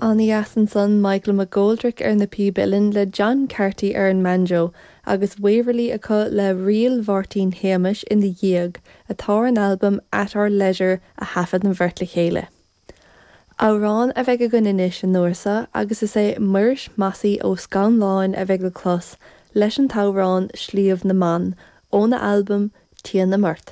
Ana-dheas ansan, Michael McGoldrick ar na píb uilleann le John Carty ar an mbanjo agus Waverly acu le Ríl Mháirtín Shéamais ina dhiaidh, atá ar an albam At Our Leisure a thaifead an bheirt le chéile. Amhrán a bheidh againn anois an uair seo agus is é Muiris Mossy Ó Scanláin a bheidh le clos leis an t-amhrán Sliabh na mBan óna albam Tighe na mBeart.